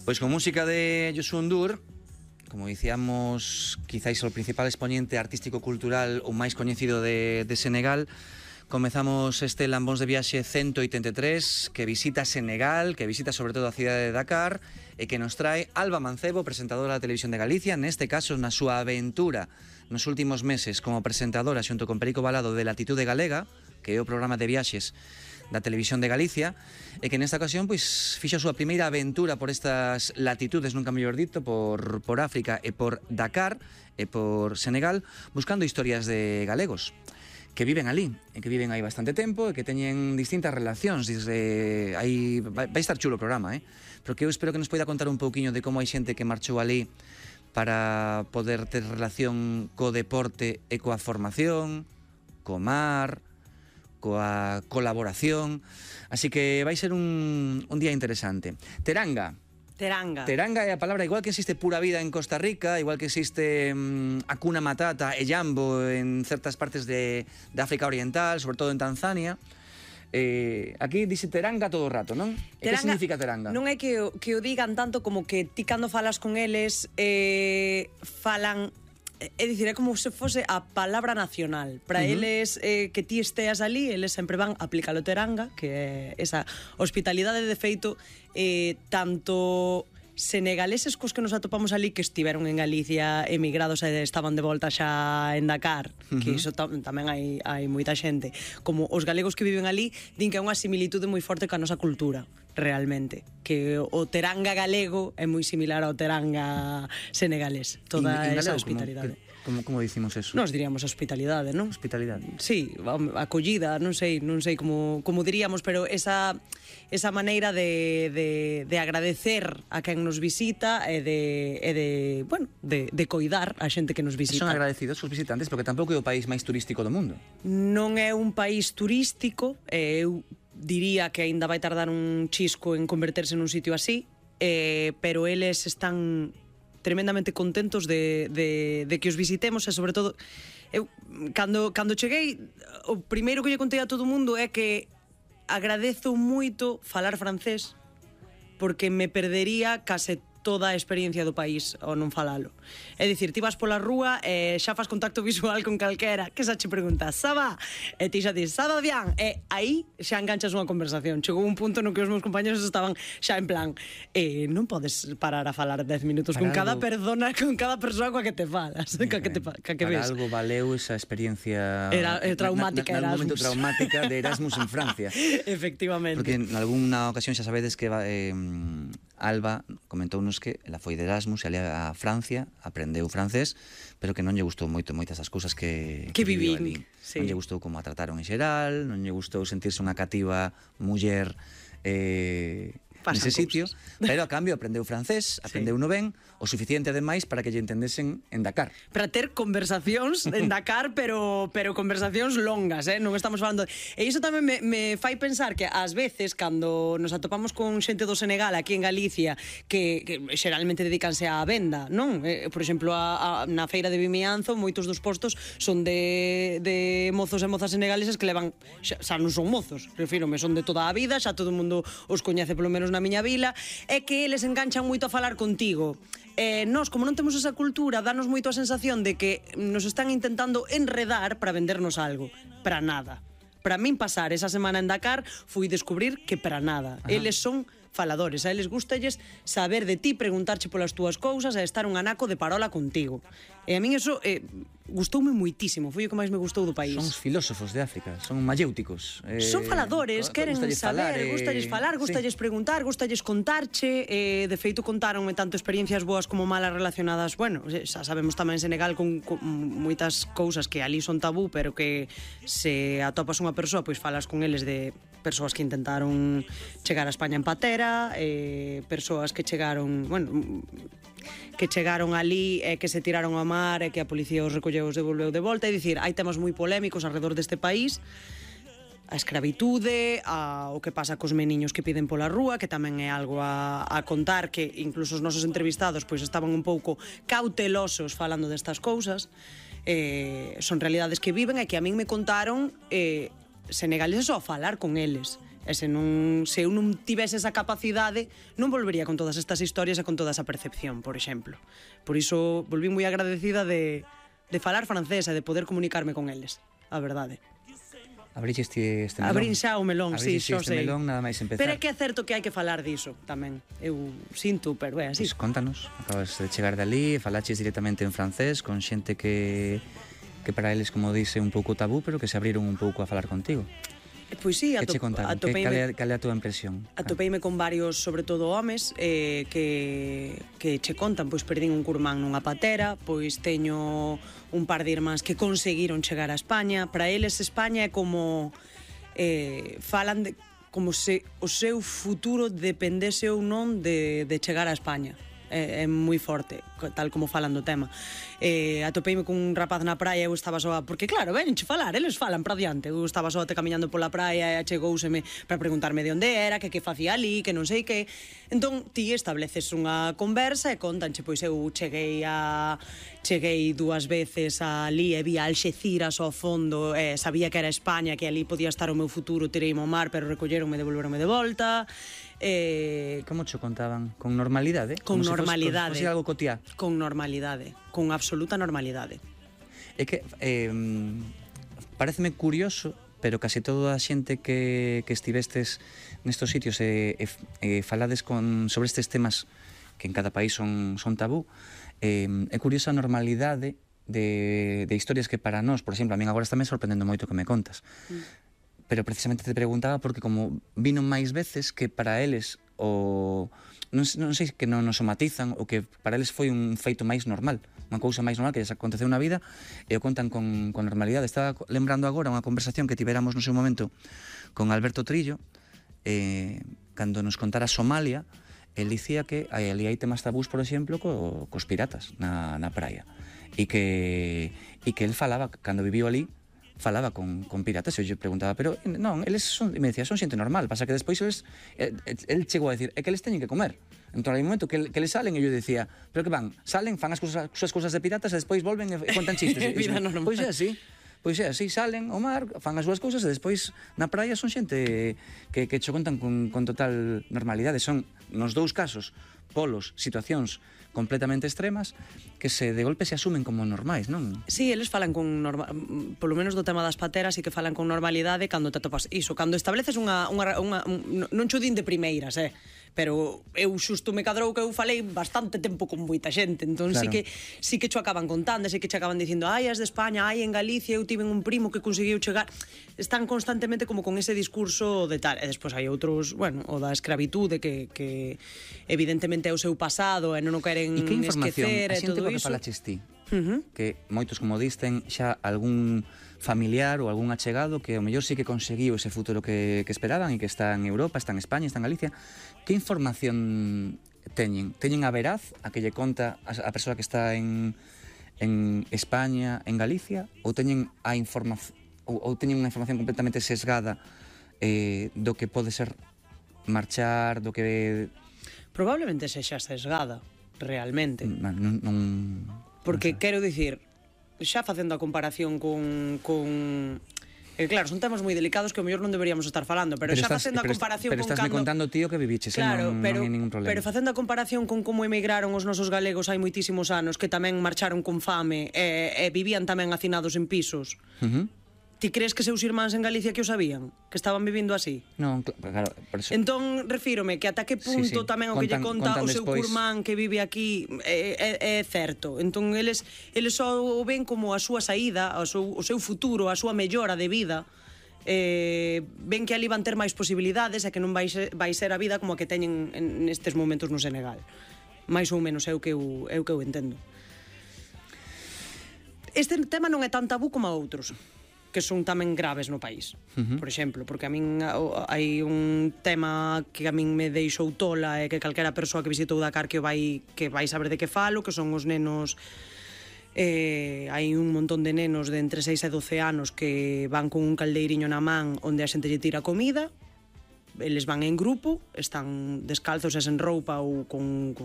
Pois con música de Youssou N'Dour, como dicíamos, quizáis o principal exponente artístico-cultural o máis coñecido de Senegal, comezamos este Lambóns de Viaxe 183 que visita Senegal, que visita sobre todo a cidade de Dakar e que nos trae Alba Mancebo, presentadora da Televisión de Galicia, neste caso na súa aventura nos últimos meses como presentadora xunto con Perico Balado de Latitude Galega, que é o programa de viaxes da Televisión de Galicia, e que nesta ocasión pois fixo a súa primeira aventura por estas latitudes, nunca mellor dito, por África e por Dakar e por Senegal, buscando historias de galegos que viven ali, e que viven aí bastante tempo e que teñen distintas relacións desde aí. Vai estar chulo o programa, pero que eu espero que nos poida contar un pouquiño de como hai xente que marchou ali para poder ter relación co deporte e coa formación, co mar, coa colaboración, así que vai ser un día interesante. Teranga é a palabra, igual que existe Pura Vida en Costa Rica, igual que existe Hakuna Matata e Jambo en certas partes de África Oriental, sobre todo en Tanzania. Aquí dice teranga todo o rato, non? Que significa teranga? Non é que o digan tanto como que ti cando falas con eles falan. É dicir, é como se fose a palabra nacional. Para eles, que ti esteas ali, eles sempre van a aplicar o teranga, que é esa hospitalidade de feito, tanto senegaleses cos que nos atopamos ali que estiveron en Galicia emigrados e estaban de volta xa en Dakar, que iso tamén hai moita xente, como os galegos que viven ali, din que é unha similitude moi forte ca nosa cultura, realmente, que o teranga galego é moi similar ao teranga senegalés, toda esa hospitalidade. Como dicimos eso? Nos diríamos hospitalidade, non? Hospitalidade. Sí, acollida, non sei como diríamos, pero esa maneira de agradecer a quen nos visita e de coidar a xente que nos visita. Son agradecidos os visitantes porque tampouco é o país máis turístico do mundo. Non é un país turístico, eu diría que aínda vai tardar un chisco en converterse nun sitio así, pero eles están tremendamente contentos de que os visitemos e sobre todo eu cando cheguei o primeiro que lle contei a todo o mundo é que agradezo moito falar francés porque me perdería case toda a experiencia do país ao non falalo. É dicir, ti vas pola rúa e xa fas contacto visual con calquera que xa che pregunta, ça va? E ti xa dis, ça va bien? E aí xa enganchas unha conversación. Chegou un punto no que os meus compañeros estaban xa en plan non podes parar a falar 10 minutos con cada persona coa que te falas, ca que ves. Para algo valeu esa experiencia traumática Erasmus. Momento traumática de Erasmus en Francia. Efectivamente. Porque en algunha ocasión xa sabedes que Alba comentounos que ela foi de Erasmus e ali a Francia aprendeu francés, pero que non lle gustou moito moitas as cousas que viviu ali. Sí. Non lle gustou como a trataron en xeral, non lle gustou sentirse unha cativa muller nese sitio, pero a cambio aprendeu francés, aprendeu no ben, o suficiente ademais para que lle entendesen en Dakar. Para ter conversacións en Dakar, pero conversacións longas, non estamos falando. E iso tamén me fai pensar que ás veces cando nos atopamos con xente do Senegal aquí en Galicia que xeralmente dedícanse á venda, non? Por exemplo, na feira de Vimianzo moitos dos postos son de mozos e mozas senegaleses que levan, xa non son mozos, refírome, son de toda a vida, xa todo o mundo os coñece polo menos na miña vila, é que eles enganchan moito a falar contigo. Nós, como non temos esa cultura, danos moito a sensación de que nos están intentando enredar para vendernos algo. Para nada. Para min pasar esa semana en Dakar fui descubrir que para nada. Eles son faladores, a eles gustalles saber de ti, preguntarche polas túas cousas e estar un anaco de parola contigo. E a min eso gustoume moitísimo, foi o que máis me gustou do país. Son os filósofos de África, son mayéuticos. Son faladores, queren saber, gustalles falar, gustalles preguntar, gustalles contarche, de feito contáronme tanto experiencias boas como malas relacionadas, bueno, xa sabemos tamén en Senegal con moitas cousas que ali son tabú, pero que se atopas unha persoa, pois falas con eles de persoas que intentaron chegar a España en patera, persoas que chegaron, bueno, que chegaron ali e que se tiraron ao mar e que a policía os recolleu e os devolveu de volta. É dicir, hai temas moi polémicos alrededor deste país, a escravitude, o que pasa cos meniños que piden pola rúa, que tamén é algo a contar, que incluso os nosos entrevistados pois estaban un pouco cautelosos falando destas cousas. Son realidades que viven e que a min me contaron senegaleses ao falar con eles. E se eu non tivese esa capacidade, non volvería con todas estas historias e con toda esa percepción, por exemplo. Por iso, volví moi agradecida de falar francés e de poder comunicarme con eles, a verdade. Abrixe este melón. Abrín xa o melón, sí, xo sei. Melón, nada máis empezar. Pero é que é certo que hai que falar diso tamén. Eu sinto, pero é así. Pois contanos, acabas de chegar dali, falaches directamente en francés con xente que para eles, como dice, un pouco tabú, pero que se abriron un pouco a falar contigo. Pois sí, que che contaron? Cal é a túa impresión? Atopeime con varios, sobre todo homes, que che contan, pois perdín un curmán nunha patera, pois teño un par de irmáns que conseguiron chegar a España. Para eles España é como falan de como se o seu futuro dependese ou non de chegar a España. É moi forte, tal como falan do tema. Atopeime cun rapaz na praia, eu estaba soa, porque claro, venche falar, eles falan para diante. Eu estaba soa camiñando pola praia e achegouseme para preguntarme de onde era, que facía ali, que non sei que. Entón, ti estableces unha conversa e contanche, pois eu cheguei 2 veces ali e vi a Alxeciras ao fondo, sabía que era España, que ali podía estar o meu futuro, tireime ao mar, pero recolleronme e devolveronme de volta. Como cho contaban? Con normalidade? Con normalidade. Como se algo cotiá? Con normalidade, con absoluta normalidade. É que pareceme curioso, pero casi toda a xente que estivestes nestos sitios e falades sobre estes temas que en cada país son tabú, é curiosa a normalidade de historias que para nós, por exemplo, a min agora está me sorprendendo moito que me contas. Pero precisamente te preguntaba porque como vino máis veces que para eles non sei que non nos somatizan ou que para eles foi un feito máis normal, unha cousa máis normal que lles aconteceu na vida e o contan con normalidade. Estaba lembrando agora unha conversación que tiveramos no seu momento con Alberto Trillo, cando nos contara Somalia, el dicía que ali hai temas tabús, por exemplo, cos piratas na praia e que el falaba, cando viviu ali, falaba con piratas e eu lle preguntaba, pero non, eles son, e me decía, son xente normal, pasa que despois el chegou a decir, é que eles teñen que comer. Entón, hai un momento que eles salen e eu decía, pero que van, salen, fan as súas cousas de piratas e despois volven e contan chistes. Vida normal. Pois é así, salen ao mar, fan as súas cousas e despois na praia son xente que cho contan con total normalidade. Son, nos dous casos, polos, situacións completamente extremas que de golpe se asumen como normais, non? Sí, eles falan con polo menos do tema das pateras e que falan con normalidade cando te atopas iso, cando estableces non cho din de primeiras, pero eu xusto me cadrou que eu falei bastante tempo con moita xente, entón claro. sí que cho acaban contando, sí que che acaban dicindo, ai, as de España, ai, en Galicia eu tiven un primo que conseguiu chegar, están constantemente como con ese discurso de tal, e despois hai outros, bueno, o da escravitude que evidentemente é o seu pasado e non o queren esquecer e todo iso. Que falaches ti, que moitos, como disten, xa algún familiar ou algún achegado que ao mellor sí que conseguiu ese futuro que esperaban e que está en Europa, está en España, está en Galicia. Que información teñen? Teñen a veraz a que lle conta a persoa que está en España, en Galicia, ou teñen a información ou teñen unha información completamente sesgada do que pode ser marchar, do que probablemente sexa sesgada, realmente. Porque quero dicir, xa facendo a comparación con claro, son temas moi delicados que ao mellor non deberíamos estar falando, pero xa facendo a comparación con cando... Pero estás me contando, tío, que viviches, claro, non hai ningún problema. Pero facendo a comparación con como emigraron os nosos galegos hai moitísimos anos, que tamén marcharon con fame e vivían tamén hacinados en pisos. Ti crees que seus irmáns en Galicia que o sabían? Que estaban vivindo así? Non, claro, por eso... Entón, refírome que ata que punto tamén o que lle conta o seu curmán que vive aquí é certo. Entón, eles só o ven como a súa saída, o seu futuro, a súa mellora de vida. Ven que ali van ter máis posibilidades e que non vai ser a vida como a que teñen nestes momentos no Senegal. Mais ou menos é o que eu entendo. Este tema non é tan tabú como a outros que son tamén graves no país, por exemplo, porque a min hai un tema que a min me deixou tola e que calquera persoa que visitou Dakar que vai saber de que falo, que son os nenos, hai un montón de nenos de entre 6 e 12 anos que van con un caldeiriño na man onde a xente lle tira comida, eles van en grupo, están descalzos e sen roupa ou con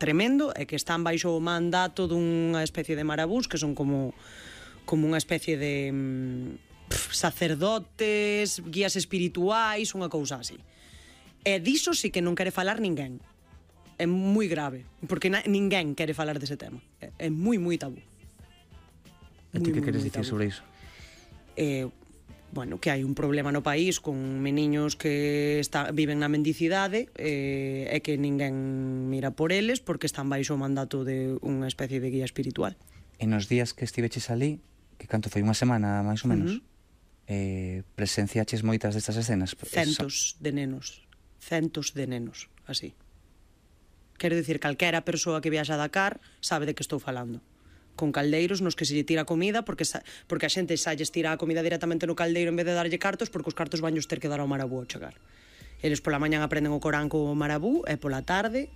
tremendo, e que están baixo o mandato dunha especie de marabús que son como unha especie de sacerdotes, guías espirituais, unha cousa así. E diso sí que non quere falar ninguén. É moi grave, porque ninguén quere falar dese tema. É moi tabú. E ti que queres dicir sobre iso? Bueno, que hai un problema no país con meniños que viven na mendicidade e que ninguén mira por eles porque están baixo o mandato de unha especie de guía espiritual. E nos días que estiveches ali, que canto foi, unha semana máis ou menos, presenciaches moitas destas escenas? Centos de nenos, así. Quero dicir, calquera persoa que viaxa a Dakar sabe de que estou falando. Con caldeiros nos que se lle tira comida porque a xente xa lles tira a comida directamente no caldeiro en vez de darlle cartos, porque os cartos vanllos ter que dar ao marabú ao chegar. Eles pola mañan aprenden o Corán co marabú e pola tarde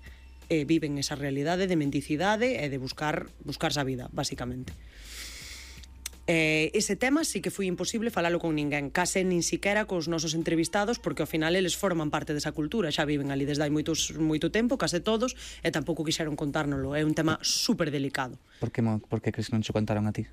viven esa realidade de mendicidade e de buscarse a vida, basicamente. Ese tema sí que foi imposible falalo con ninguén, case nin siquera cos nosos entrevistados, porque ao final eles forman parte desa cultura, xa viven ali desde hai moito tempo, case todos, e tampouco quixeron contárnolo. É un tema super delicado. Por que crees que non che contaron a ti?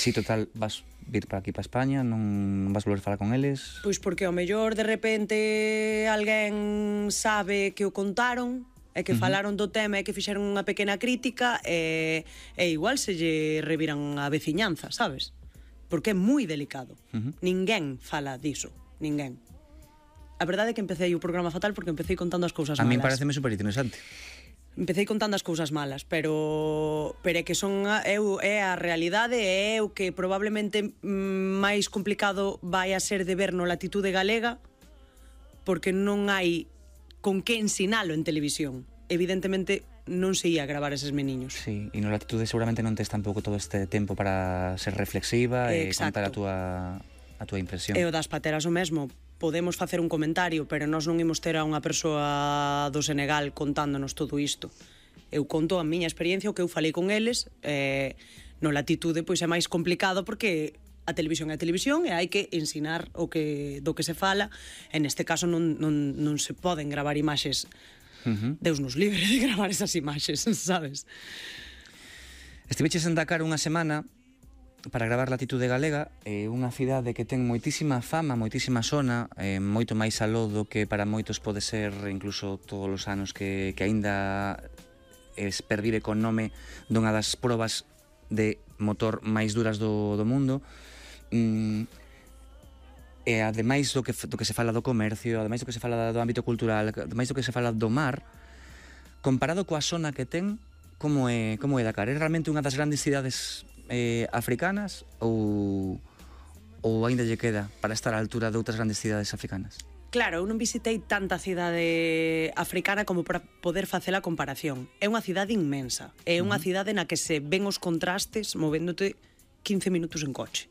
Si total vas vir para aquí para España, non vas volver a falar con eles? Pois porque ao mellor de repente alguén sabe que o contaron e que falaron do tema e que fixeron unha pequena crítica e igual se lle reviran a veciñanza, sabes? Porque é moi delicado. Ninguén fala diso, ninguén. A verdade é que empecé o programa fatal porque empecé contando as cousas malas. A min pareceme super interesante. Empecé contando as cousas malas, pero é que é a realidade e é o que probablemente máis complicado vai a ser de ver no Latitude Galega, porque non hai con que ensinalo en televisión. Evidentemente non se ia gravar eses meniños. Sí, e no Latitude seguramente non tes tampouco todo este tempo para ser reflexiva e contar a túa impresión. E o das pateras o mesmo. Podemos facer un comentario, pero nós non imos ter a unha persoa do Senegal contándonos todo isto. Eu conto a miña experiencia, o que eu falei con eles, no Latitude pois é máis complicado porque a televisión é a televisión e hai que ensinar do que se fala. En este caso non se poden gravar imaxes. Deus nos libre de gravar esas imaxes, sabes? Estiveches en Dakar unha semana para gravar Latitude Galega, unha cidade que ten moitísima fama, moitísima sona, moito máis aló do que para moitos pode ser incluso todos os anos que aínda pervive con nome dunha das probas de motor máis duras do mundo. E ademais do que se fala do comercio, ademais do que se fala do ámbito cultural, ademais do que se fala do mar, comparado coa zona que ten, como é Dakar? É realmente unha das grandes cidades africanas ou aínda lle queda para estar á altura de outras grandes cidades africanas? Claro, eu non visitei tanta cidade africana como para poder facer a comparación. É unha cidade inmensa, é unha cidade na que se ven os contrastes movéndote 15 minutos en coche.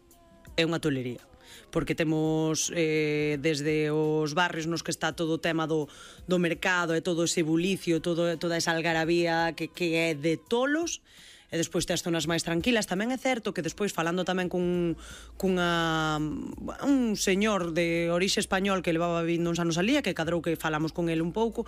É unha tolería, porque temos desde os barrios nos que está todo o tema do mercado e todo ese bulicio, toda esa algarabía que é de tolos, e despois tes zonas máis tranquilas. Tamén é certo que despois, falando tamén un señor de orixe español que levaba vindo uns anos alía, que cadrou que falamos con ele un pouco,